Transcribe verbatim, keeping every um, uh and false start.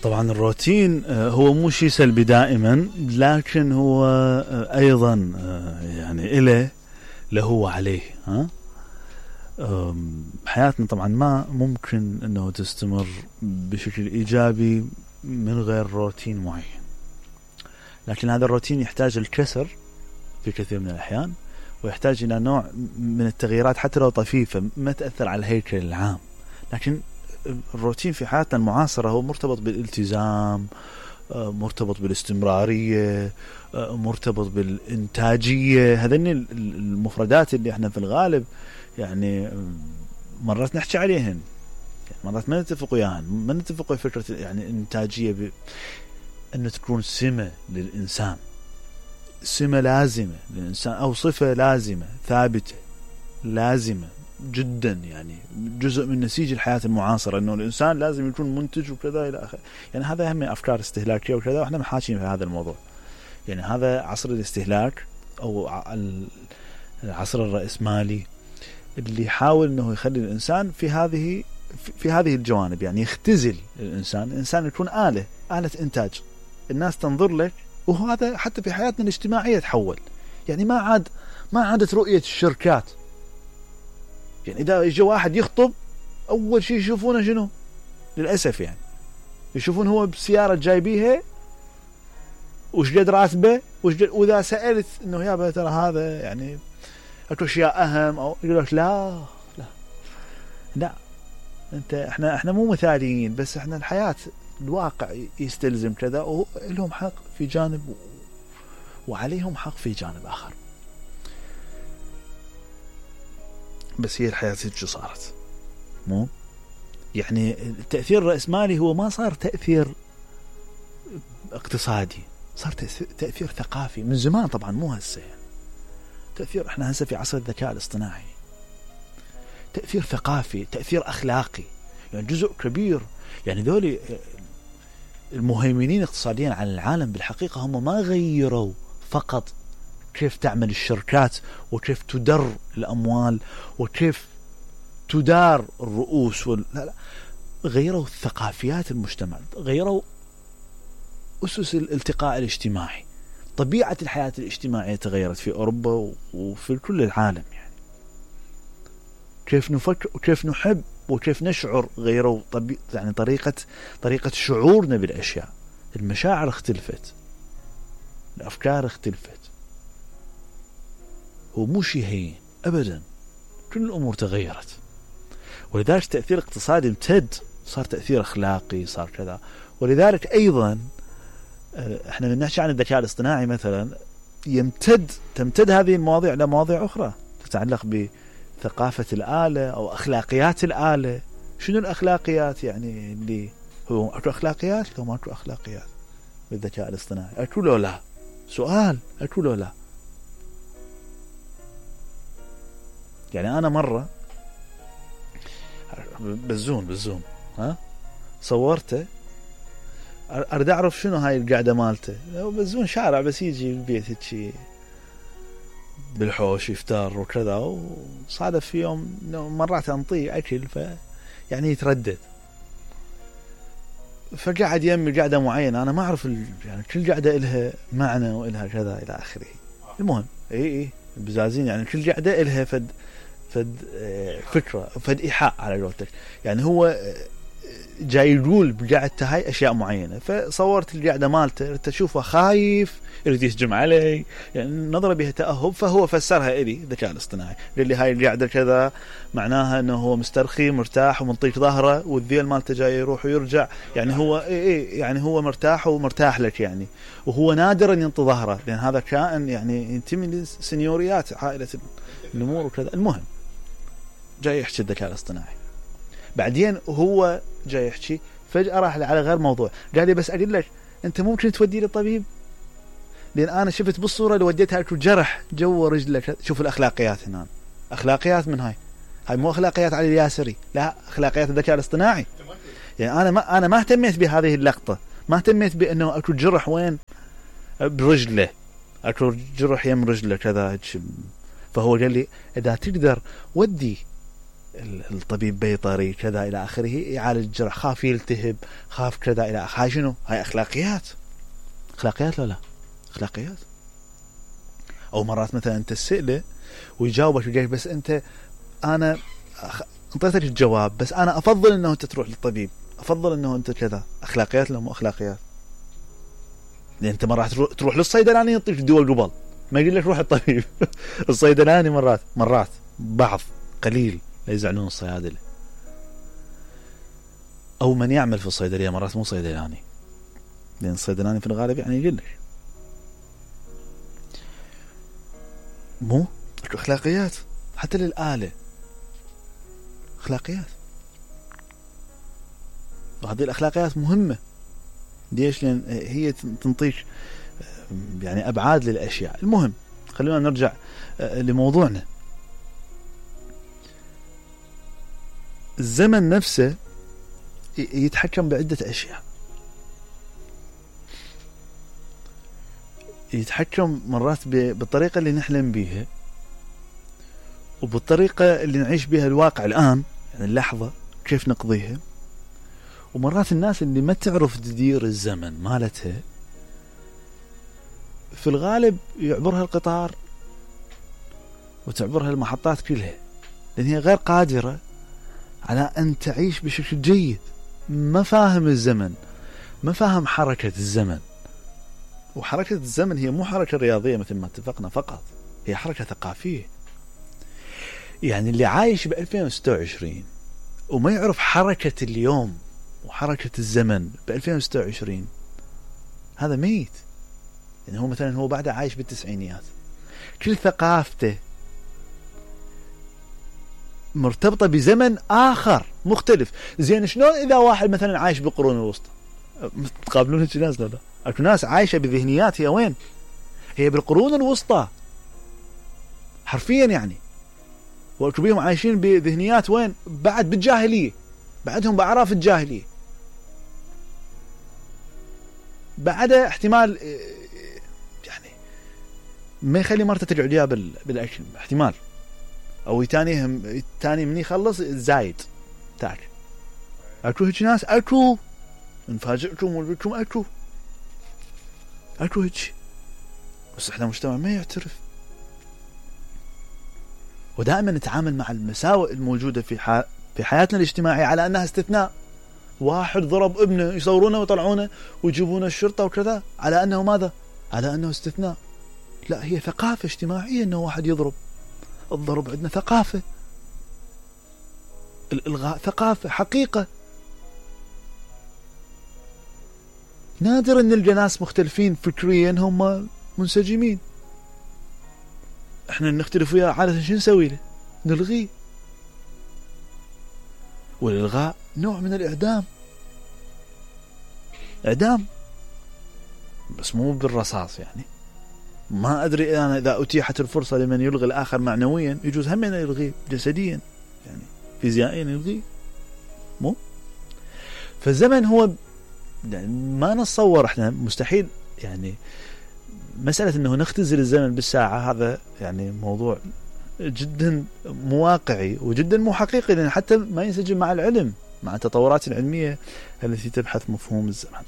طبعا الروتين هو مو شيء سلبي دائما، لكن هو ايضا يعني إله له وعليه. ها حياتنا طبعا ما ممكن انه تستمر بشكل ايجابي من غير روتين معين، لكن هذا الروتين يحتاج الكسر في كثير من الاحيان، ويحتاج الى نوع من التغييرات حتى لو طفيفة ما تأثر على الهيكل العام. لكن الروتين في حياتنا المعاصرة هو مرتبط بالالتزام، مرتبط بالاستمرارية، مرتبط بالإنتاجية. هذين المفردات اللي احنا في الغالب يعني مرات نحكي عليهن، مرات ما نتفق وياهن، ما نتفق ويا فكرة يعني إنتاجية ب... أنه تكون سمة للإنسان، سمة لازمة للإنسان أو صفة لازمة ثابتة لازمة جدا، يعني جزء من نسيج الحياة المعاصرة أنه الإنسان لازم يكون منتج وكذا إلى آخره. يعني هذا هم أفكار استهلاكية وكذا، وإحنا محاكين في هذا الموضوع. يعني هذا عصر الاستهلاك أو العصر الرأسمالي اللي يحاول أنه يخلي الإنسان في هذه في هذه الجوانب، يعني يختزل الإنسان. الإنسان يكون آلة آلة إنتاج، الناس تنظر لك. وهذا حتى في حياتنا الاجتماعية تحول، يعني ما عاد ما عادت رؤية الشركات. يعني إذا يجي واحد يخطب أول شيء يشوفونه شنو؟ للأسف يعني يشوفون هو بسيارة جايبيها وش قد راتبه وش قد، وإذا سألت إنه يا ترى هذا يعني أكو أشياء أهم أو يقول لك لا لا لا أنت إحنا إحنا مو مثاليين، بس إحنا الحياة الواقع يستلزم كذا، ولهم حق في جانب وعليهم حق في جانب آخر. بس هي الحياة هيك صارت، مو يعني التأثير الرأسمالي هو ما صار تأثير اقتصادي، صار تأثير ثقافي من زمان طبعا، مو هسه يعني. تأثير احنا هسه في عصر الذكاء الاصطناعي، تأثير ثقافي، تأثير أخلاقي، يعني جزء كبير. يعني ذولي المهيمنين اقتصاديا على العالم بالحقيقة هم ما غيروا فقط كيف تعمل الشركات وكيف تدر الأموال وكيف تدار الرؤوس وال... لا لا، غيروا ثقافيات المجتمع، غيروا أسس الالتقاء الاجتماعي، طبيعة الحياة الاجتماعية تغيرت في أوروبا وفي كل العالم. يعني كيف نفكر وكيف نحب وكيف نشعر غيروا طبي... يعني طريقة طريقة شعورنا بالأشياء. المشاعر اختلفت، الأفكار اختلفت. هو مو شيء هين أبدا، كل الأمور تغيرت. ولذلك تأثير اقتصادي امتد، صار تأثير أخلاقي، صار كذا. ولذلك أيضا احنا من نحكي عن الذكاء الاصطناعي مثلا، يمتد تمتد هذه المواضيع لمواضيع أخرى تتعلق بثقافة الآلة أو أخلاقيات الآلة. شنو الأخلاقيات يعني اللي هو أكو أخلاقيات لو ما أكو أخلاقيات بالذكاء الاصطناعي؟ أكو لو لا؟ سؤال، أكو لو لا؟ يعني أنا مرة بالزوم بالزوم ها صورته، أريد أعرف شنو هاي القعدة مالته. بالزوم شارع بس يجي البيت هيك بالحوش يفتر وكذا، وصادف في يوم مرات أنطيه أكل ف يعني يتردد، فقعد يمي قعدة معينة أنا ما أعرف ال... يعني كل قعدة إلها معنى وإلها كذا إلى آخره. المهم إيه إيه بزازين، يعني كل قعدة إلها فد فد فكرة فد إيحاء على قولتك. يعني هو جاي يقول بقعدته هاي أشياء معينة، فصورت القعدة مالته تشوفه خايف يريد يسجم علي، يعني نظرة بها تأهب، فهو فسرها إلي الذكاء الاصطناعي، قال لي هاي القعدة كذا معناها أنه هو مسترخي مرتاح ومنطيك ظهره، والذيل مالته جاي يروح ويرجع، يعني هو إيه إيه يعني هو مرتاح ومرتاح لك يعني، وهو نادر أن ينطي ظهره لأن هذا كائن يعني ينتمي لسنيوريات عائلة النمور وكذا. المهم جاي يحكي الذكاء الاصطناعي، بعدين هو جاي يحكي فجأة راح على غير موضوع، قال لي بس أقول لك أنت ممكن تودي لي طبيب، لأن أنا شفت بالصورة اللي وديتها لك جرح جوا رجلك. شوف الأخلاقيات هنا، أخلاقيات من هاي هاي مو أخلاقيات علي الياسري، لا أخلاقيات الذكاء الاصطناعي. يعني أنا ما أنا ما اهتميت بهذه اللقطة، ما اهتميت بأنه أكو جرح وين برجله، أكو جرح يم رجله كذا. فهو قال لي إذا تقدر ودي الطبيب بيطري كذا إلى آخره يعالج الجرح، خاف يلتهب، خاف كذا إلى آخره. هاي شنو؟ هاي أخلاقيات. أخلاقيات لا لا أخلاقيات. أو مرات مثلا أنت تسأله ويجاوبك ويقول بس أنت أنا انطيتك الجواب بس أنا أفضل أنه أنت تروح للطبيب، أفضل أنه أنت كذا. أخلاقيات لا مو أخلاقيات؟ لأن أنت مرات تروح للصيدلاني يعطيك دواء قبل ما يقول لك روح الطبيب. الصيدلاني مرات مرات بعض قليل لا يزعلون الصيادلة أو من يعمل في الصيدلية، مرات مو صيدلاني، لأن الصيدلاني في الغالب يعني يقول لك مو أخلاقيات. حتى للآلة أخلاقيات، وهذه الأخلاقيات مهمة. ليش؟ لأن هي تنطيك يعني أبعاد للأشياء. المهم خلونا نرجع لموضوعنا. الزمن نفسه يتحكم بعدة أشياء. يتحكم مرات بالطريقة اللي نحلم بيها وبالطريقة اللي نعيش بها الواقع الآن، يعني اللحظة كيف نقضيها. ومرات الناس اللي ما تعرف تدير الزمن مالتها في الغالب يعبرها القطار وتعبرها المحطات كلها، لأن هي غير قادرة على أن تعيش بشكل جيد. ما فاهم الزمن، ما فاهم حركة الزمن. وحركة الزمن هي مو حركة رياضية مثل ما اتفقنا فقط، هي حركة ثقافية. يعني اللي عايش بألفين وستة وعشرين وما يعرف حركة اليوم وحركة الزمن بألفين وستة وعشرين هذا ميت. يعني هو مثلا هو بعد عايش بالتسعينيات، كل ثقافته مرتبطة بزمن آخر مختلف. زين شلون إذا واحد مثلا عايش بالقرون الوسطى؟ تقابلون هيك ناس لا لا؟ أكو ناس عايشة بذهنيات هي وين؟ هي بالقرون الوسطى حرفيا يعني. وأكو بيهم عايشين بذهنيات وين؟ بعد بالجاهلية، بعدهم بأعراف الجاهلية، بعد احتمال يعني ما يخلي مرته تقعد وياه بالأكل احتمال، أو تاني تاني من يخلص زايد تاك. أكو هيك ناس، أكو نفاجئكم ونقولكم أكو أكو هيك، بس إحنا مجتمع ما يعترف. ودائما نتعامل مع المساوئ الموجودة في ح... في حياتنا الاجتماعية على أنها استثناء. واحد ضرب ابنه يصورونه ويطلعونه ويجيبونه الشرطة وكذا على أنه ماذا؟ على أنه استثناء. لا، هي ثقافة اجتماعية أنه واحد يضرب. الضرب عندنا ثقافة، الإلغاء ثقافة حقيقة. نادر أن نلقى ناس مختلفين فكريا هم منسجمين. احنا نختلف وياه عادة شو نسوي له؟ نلغيه. والإلغاء نوع من الإعدام، إعدام بس مو بالرصاص. يعني ما أدري أنا إذا أتيحت الفرصة لمن يلغي الآخر معنويا يجوز هم أن يلغيه جسديا، يعني فيزيائيا يلغيه مو. فالزمن هو يعني ما نتصور احنا مستحيل يعني مسألة أنه نختزل الزمن بالساعة، هذا يعني موضوع جدا مو واقعي وجدا مو حقيقي، لأن حتى ما ينسجم مع العلم، مع التطورات العلمية التي تبحث مفهوم الزمن.